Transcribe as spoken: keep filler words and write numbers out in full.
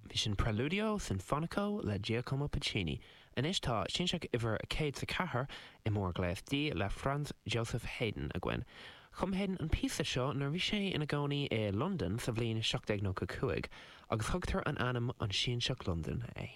Bhí sin Preludio Sinfonico le Giacomo Puccini. Anois tá Sianseach uimhir a céad is a ceathair i mórghléas D le Franz Joseph Haydn againn. Chum Haydn an píosa seo nuair bhí sé ina gcónaí i Londain sa bhliain seacht déag nócha cúig, agus thugtar an ainm an Sianseach Londan é.